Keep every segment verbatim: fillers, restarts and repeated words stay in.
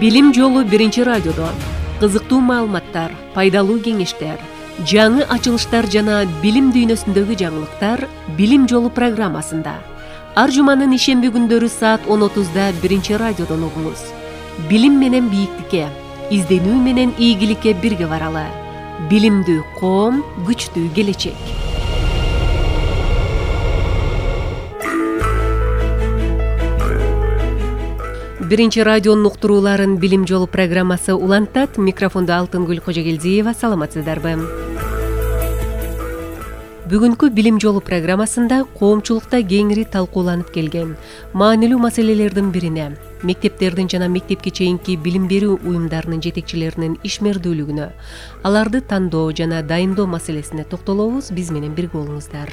Билим жолу биринчи радиодо кызыктуу маалыматтар, пайдалуу кеңештер, жаңы ачылыштар жана билим дүйнөсүндөгү жаңылыктар Билим жолу программасында. Ар жуманын ишемби күндөрү саат он отузда биринчи радиодон угуңуз. Билим менен бийиктикке, изденүү менен ийгиликке бирге баралы. Билимдүү коом, күчтүү келечек. Биринчи радионун уктурууларын Билим жолу программасы улантат. Микрофондо Алтынгүл Кожогелдиева. Саламатсыздарбы? Бүгүнкү Билим жолу программасында коомчулукта кеңири талкууланып келген маанилүү маселелердин бирине, мектептердин жана мектепке чейинки билим берүү уюмдарынын жетекчилеринин ишмердүүлүгүнө, аларды тандоо жана дайындоо маселесине токтолобуз. Биз менен бирге болуңуздар.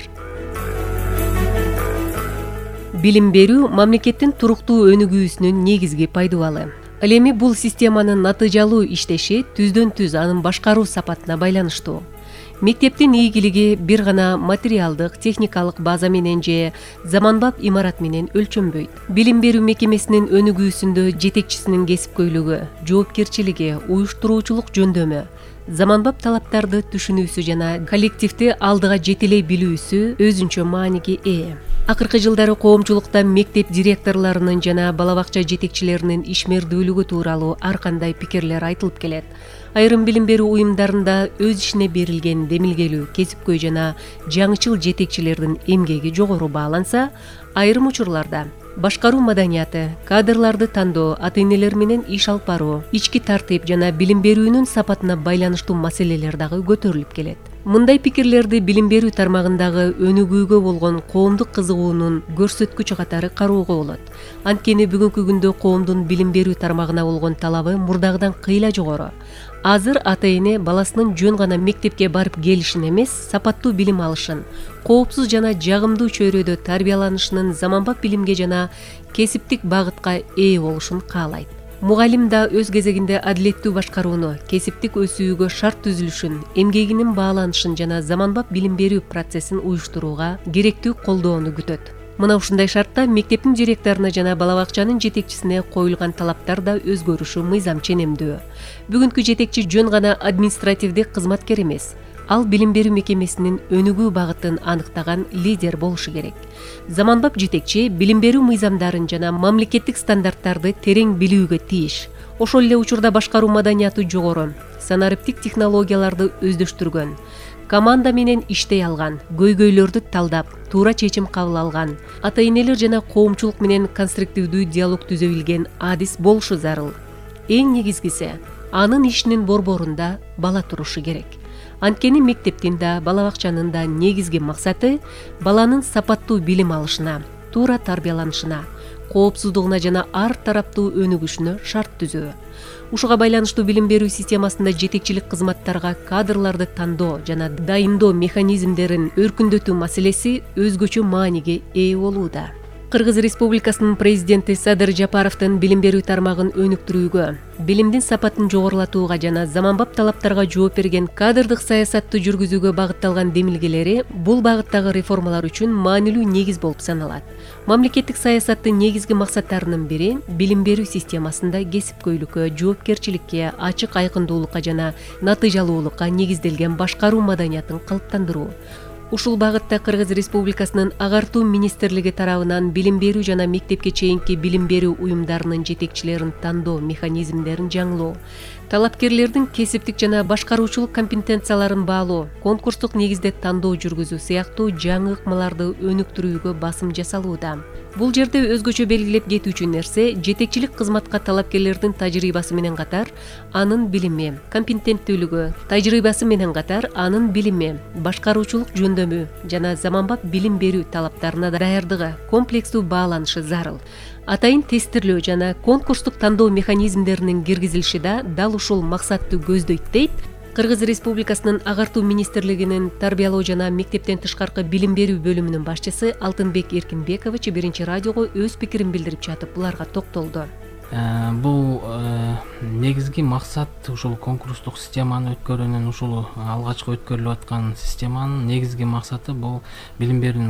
Билим берүү мамлекеттин туруктуу өнүгүүсүнүн негизги пайдубалы. Ал эми бул системанын натыйжалуу иштеши түздөн түз анын башкаруу сапатына байланыштуу. Мектептин ийгилиги бир гана материалдык, техникалык база менен же заманбап имарат менен өлчөнбөйт. Билим берүү мекемесинин өнүгүүсүндө жетекчисинин кесипкөйлүгү, жоопкерчилиги, уюштуруучулук жөндөмү, заманбап талаптарды түшүнүүсү жана коллективди алдыга жетелей билүүсү өзүнчө мааниге ээ. Акыркы жылдары коомчулукта мектеп директорлорунун жана бала бакча жетекчилеринин ишмердүүлүгү тууралуу ар кандай пикирлер айтылып келет. Айрым билим берүү уюмдарында өз ишине берилген демилгелүү, кесипкөй жана жаңычыл жетекчилердин эмгеги жогору бааланса, айрым учурларда башкаруу маданияты, кадрларды тандоо, ата-энелер менен иш алып баруу, ички тартип жана билим берүүнүн сапатына байланыштуу маселелер дагы көтөрүлүп келет. Мындай пикирлерди билим берүү тармагындагы өнүгүүгө болгон коомдук кызыгуунун көрсөткүчү катары кароого болот. Анткени бүгүнкү күндө коомдун билим берүү тармагына болгон талабы мурдагыдан кыйла жогору. Азыр ата-эне баласынын жөн гана мектепке барып келишин эмес, сапаттуу билим алышын, коопсуз жана жагымдуу чөйрөдө тарбияланышынын заманбап билимге жана кесиптик багытка ээ болушун каалайт. Мугалим да өз кезегинде адилеттүү башкарууну, кесиптик өсүүгө шарт түзүлүшүн, эмгегинин бааланышын жана заманбап билим берүү процессин уюштурууга керектүү колдоону күтөт. Мына ушундай шартта мектептин директоруна жана бала бакчанын жетекчисине коюлган талаптар да өзгөрүшү мыйзам ченемдүү. Бүгүнкү жетекчи жөн гана административдик кызматкер эмес, ал билим берүү мекемесинин өнүгүү багытын аныктаган лидер болушу керек. Заманбап жетекчи билим берүү мыйзамдарын жана мамлекеттик стандарттарды терең билүүгө тийиш. Ошол эле учурда башкаруу маданияты жогору, санариптик технологияларды өздөштүргөн, команда менен иштей алган, көйгөйлөрдү талдап, туура чечим кабыл алган, ата-энелер жана коомчулук менен конструктивдүү диалог түзө билген адис болушу зарыл. Эң негизгиси, анын ишинин борборунда бала турушу керек. Анткени мектептин да, бала бакчанын да негизги максаты баланын сапаттуу билим алышына, туура тарбияланышына, коопсуздугуна жана ар тараптуу өнүгүшүнө шарт түзөө. Ушуга байланыштуу билим берүү системасында жетекчилик кызматтарга кадрларды тандоо жана дайындоо механизмдерин өркүндөтүү маселеси өзгөчө мааниге ээ болууда. Кыргыз Республикасынын президенти Садыр Жапаровдун билим берүү тармагын өнүктүрүүгө, билимдин сапатын жогорулатууга жана заманбап талаптарга жооп берген кадрдык саясатты жүргүзүүгө багытталган демилгелери бул багыттагы реформалар үчүн маанилүү негиз болуп саналат. Мамлекеттик саясаттын негизги максаттарынын бири билим берүү системасында кесипкөйлүккө, жоопкерчиликке, ачык айкындуулукка жана натыйжалуулукка негизделген башкаруу маданиятын калыптандыруу. Ушул багытта Кыргыз Республикасынын агартуу министрлиги тарабынан билим берүү жана мектепке чейинки билим берүү уюмдарынын жетекчилерин тандоо механизмдерин жаңылоо, талапкерлердин кесиптик жана башкаруучулук компетенцияларын баалоо, конкурстук негизде тандоо жүргүзүү сыяктуу жаңы ыкмаларды өнүктүрүүгө басым жасалууда. Бул жерде өзгөчө белгилеп кетүүчү нерсе жетекчилик кызматка талапкерлердин тажрыйбасы менен катар анын билими, компетенттүүлүгү, тажрыйбасы менен катар анын билими, башкаруучулук жөндөмү жана заманбап билим берүү талаптарына даярдыгы, комплекстүү бааланышы зарыл. Атайын тестирлөө жана конкурстук тандоо механизмдеринин киргизилиши да дал ушул максатты көздөйт дейт Кыргыз Республикасынын агартуу министрлигинин тарбиялоо жана мектептен тышкаркы билим берүү бөлүмүнүн башчысы Алтынбек Эркинбекович биринчи радиого өз пикирин билдирип жатып буларга токтолду. Бул негизги максат ушул конкурстук системаны өткөрүүнүн, ушул алгачкы өткөрүлүп аткан системанын негизги максаты бул билим берүүнүн